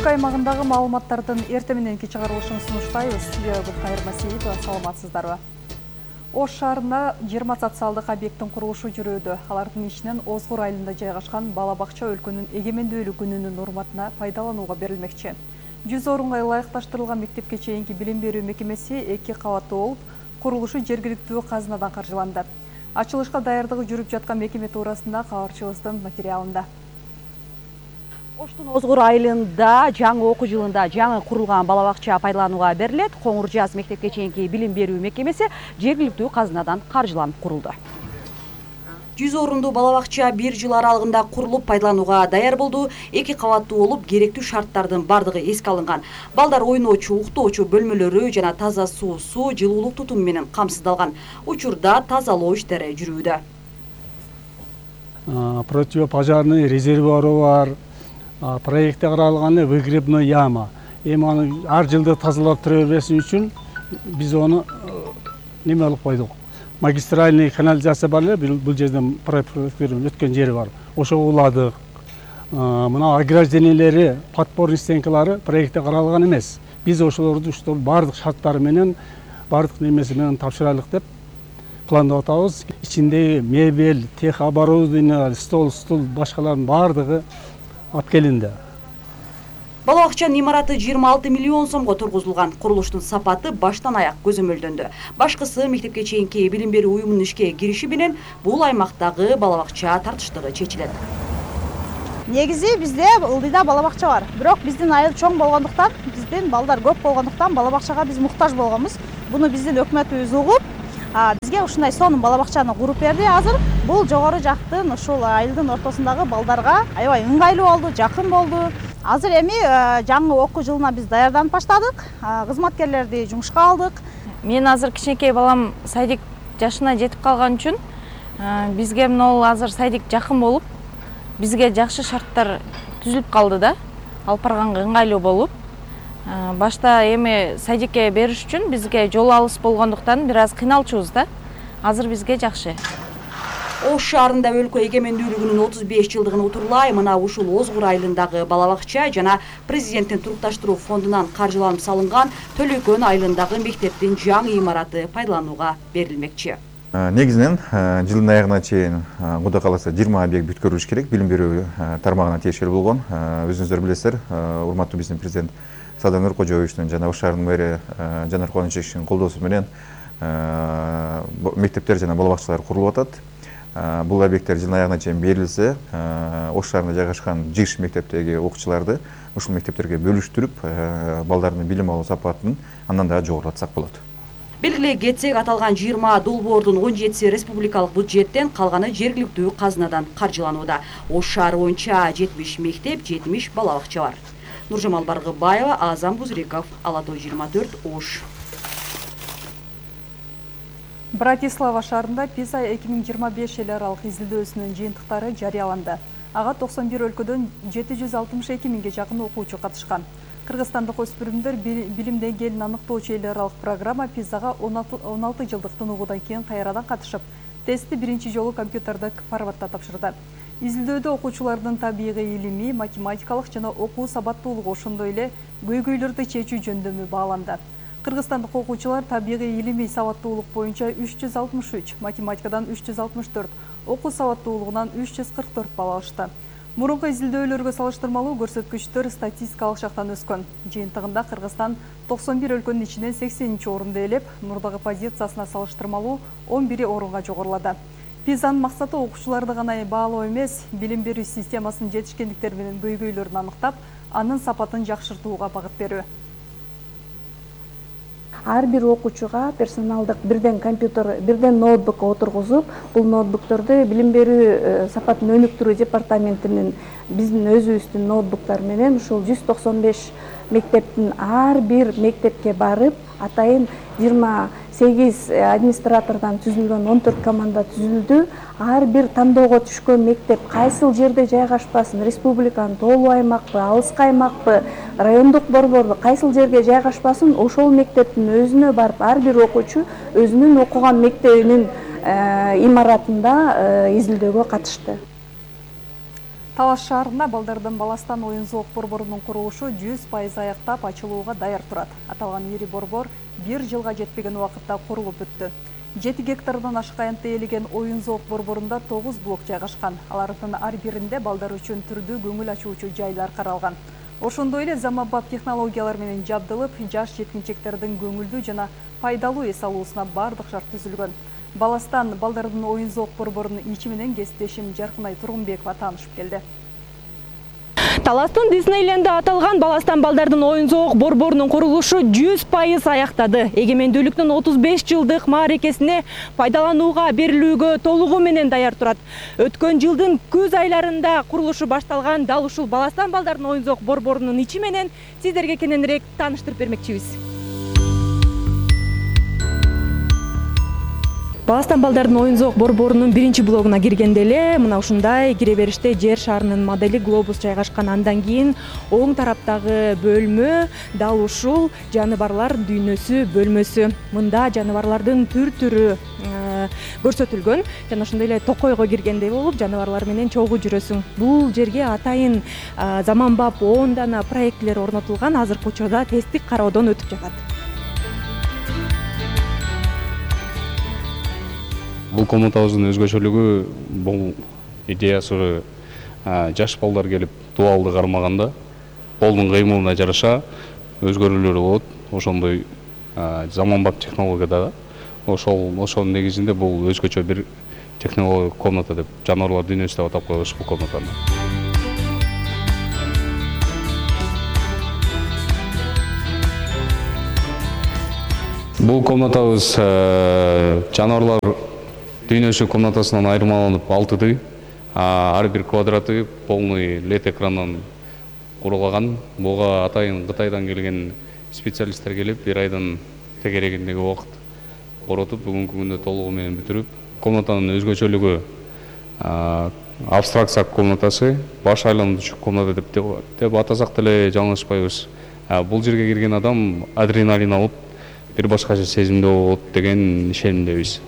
өлкө аймагындагы маалыматтардын эрте мененки чыгарылышын сунуштайбыз. Студияда Гүлкайыр Масиитова, саламатсыздарбы? Ош шаарында 20 социалдык объекттин курулушу жүрүүдө. Алардын ичинен Озгур айылында жайгашкан бала бакча өлкөнүн эгемендүүлүк күнүнүн урматына пайдаланууга берилмекчи. 100 орунга ылайыкташтырылган мектепке чейинки билим берүү мекемеси 2 кабаттуу болуп, курулушу жергиликтүү казынадан каржыланды. Ачылышка даярдыгы жүрүп жаткан мекеме туурасында кабарчыбыздын материалында. Оштун Озгур айылында жаңы окуу жылында жаңы курулган бала бакча пайдаланууга берилет. Коңур Жаз мектепке чейинки билим берүү мекемеси жергиликтүү казынадан каржыланып курулду. 100 орундуу бала бакча 1 жыл аралыгында курулуп пайдаланууга даяр болду. 2 кабаттуу болуп, керектүү шарттардын бардыгы эске алынган. Балдар ойноочу, уктоочу бөлмөлөрү жана таза суу, жылуулук тутуму менен камсыздалган. Учурда тазалоо иштери жүрүүдө. Противопожарный резервуары бар. Проектте каралган выгребной яма. Эми аны ар жылда тазалап тура бербесин үчүн биз ону неме алып койдук. Магистральный канализация бар эле, бул жерден проекттерден өткөн жери бар. Ошого уладык. Мына ограждениелери, подпорный стенкалары проектте каралган эмес. Биз ошолорду бардык шарттары менен, бардык немеси менен тапшырайлык деп пландап атабыз. Ичиндеги мебель, техоборудование, стол, башкалардын бардыгы алып келинди. Бала бакчанын имараты 26 миллион сомго тургузулган. Курулуштун сапаты баштан аяк көзөмөлдөнү. Башкысы мектепке чейинки билим берүү уюмунун ишке кириши менен бул аймактагы бала бакча тартыштыгы чечилет. Негизи бизде ылдыйда бала бакча бар. Бирок биздин айыл чоң болгондуктан, биздин балдар көп болгондуктан бала бакчага биз муктаж болгонбуз. Буну биздин өкмөтүбүз угуп, бизге ушундай сонун бала бакчаны куруп берди. Азыр бул жогору жактын ушул айылдын ортосундагы балдарга аябай ыңгайлуу болду, жакын болду. Азыр эми жаңы окуу жылына биз даярданып баштадык. Кызматкерлерди жумушка алдык. Мен азыр кичинекей балам садик жашына жетип калган үчүн бизге могул азыр садик жакын болуп, бизге жакшы шарттар түзүлүп калды да. Алып барганга ыңгайлуу болуп, башта эми садикке бериш үчүн бизге жол алыс болгондуктан бир аз кыйналчубуз да. Азыр бизге жакшы. Ош шаарында өлкө эгемендүүлүгүнүн 35 жылдыгын утурлай мына ушул Озгур айылындагы бала бакча жана президенттин турукташтыруу фондунан каржыланып салынган Төлөкөн айылындагы мектептин жаңы имараты пайдаланууга берилмекчи. Негизинен жылдын аягына чейин Кудай кааласа 20 объект бүткөрүлүш керек. Билим берүү тармагына тиешелүү болгон. Өзүңүздөр билесиздер, урматтуу биздин президент Садыр Нуркожоевичтин жана Ош шаарынын мэри Жанар Кубанычевичтин колдоосу менен мектептер жана бала бакчалар курулуп атат. Бул объекттер жылдын аягына чейин берилсе, Ош шаарында жайгашкан ЖИШ мектептеги окуучуларды ушул мектептерге бөлүштүрүп, балдардын билим алуу сапатын андан да жогорулатсак болот. Белгилей кетсек, аталган 20 долбоордун 17си республикалык бюджеттен, калганы жергиликтүү казынадан каржыланууда. Ош шаары боюнча 70 мектеп, 70 бала бакча бар. Нуржамал Баргыбаева, Азам Бузриков, Ала Той 24, Ош. Братислава шаарында PISA 2025 эл аралык изилдөөсүнүн жыйынтыктары жарыяланды. Ага 91 өлкөдөн 762 миңге жакын окуучу катышкан. Кыргызстандык өспүрүмдөр билим деңгээлин аныктоочу эл аралык программа PISA-га 16 жылдык тынугудан кийин кайрадан катышып, тестти биринчи жолу компьютердик форматта тапшырды. Изилдөөдө окуучулардын табигый илимий, математикалык жана окуу сабаттуулугу, ошондой эле көйгөйлөрдү чечүү жөндөмү бааланды. Кыргызстандык окуучулар табигый илимий сабаттуулук боюнча 363, математикадан 364, окуу сабаттуулугунан 344 балл алышты. Мурунку изилдөөлөргө салыштырмалуу көрсөткүчтөр статистикалык жактан өскөн. Жыйынтыгында Кыргызстан 91 өлкөнүн ичинен 80-чи орунду ээлеп, мурдагы позициясына салыштырмалуу 11 орунга жогорулады. PISA-нын максаты окуучуларды гана баалоо эмес, билим берүү системасынын жетишкендиктери менен көйгөйлөрүн аныктап, анын сапатын жакшыртууга багыт берүү. Ар бир окуучуга персоналдык бирден компьютер, бирден ноутбук отургузуп, бул ноутбукторду билим берүү сапатын өнүктүрүү департаментинин биздин өзүбүздүн ноутбуктар менен ушул 195 мектептин ар бир мектепке барып, атайын 28 администратордон түзүлгөн 14 команда түзүлдү. Ар бир тандоого түшкөн мектеп кайсыл жерде жайгашпасын, республиканын тоолуу аймакпы, алыскы аймакпы, райондук борборду кайсыл жерге жайгашпасын, ошол мектептин өзүнө барып, ар бир окуучу өзүнүн окуган мектебинин имаратында изилдөөгө катышты. Талас шаарында балдардын баластан оюн зоок борборунун курулушу 100% аяктап ачылууга даяр турат. Аталган ири борбор 1 жылга жетпеген убакытта курулуп бүттү. 7 гектардан ашык аянтты ээлеген оюн зоок борборунда 9 блок жайгашкан. Алардын ар биринде балдар үчүн түрдүү көңүл ачуучу жайлар каралган. Ошондой эле заманбап технологиялар менен жабдылып, жаш жеткинчектердин көңүлдүү жана пайдалуу эс алуусуна бардык шарт түзүлгөн. Баластан балдардын оюн зоок борборунун ичи менен кесиптешим Жаркынай Тургунбекова таанышып келди. Таластын Диснейлендде аталган Баластан балдардын оюн зоок борборунун курулушу 100% аяктады. Эгемендүүлүктүн 35 жылдык мааракесине пайдаланууга берилүүгө толугу менен даяр турат. Өткөн жылдын күз айларында курулушу башталган дал ушул Баластан балдардын оюн зоок борборунун ичи менен сиздерге кененирээк тааныштырып бермекчибиз. Баластан балдардын оюн зоок борборунун биринчи блогуна киргенде эле мына ушундай кире бериште жер шарынын модели глобус жайгашкан. Андан кийин оң тараптагы бөлмө дал ушул жаныбарлар дүйнөсү бөлмөсү. Мында жаныбарлардын түр-түрү көрсөтүлгөн. Жана ошондой эле токойго киргендей болуп, жаныбарлар менен чогуу жүрөсүң. Бул жерге атайын заманбап 10 дана проектлер орнотулган. Азыркы учурда тесттик кароодон өтүп жатат. Бул комнатабыздын өзгөчөлүгү, бул идеясы жаш балдар келип дуалды кармаганда колдун кыймылына жараша өзгөрүүлөр болот. Ошондой заманбап технологияда ошонун негизинде бул өзгөчө бир технология комната деп жаныбарлар дүйнөсү деп атап коебуз бул комнатаны. Бул комнатабыз жаныбарлар дүйнөсү комнатасынан айырмаланып 6 ар бир квадраты полный LED экрандан курулган. Буга атайын Кытайдан келген специалисттер келип, 1 айдан тегерегиндеги убакыт коротуп, бүгүнкү күндө толугу менен бүтүрүп, комнатанын өзгөчөлүгү абстракция комнатасы, баш айландырчу комната деп атасак деле жаңылышпайбыз. Бул жерге кирген адам адреналин алып, бир башкача сезимде болот деген ишенимдебиз.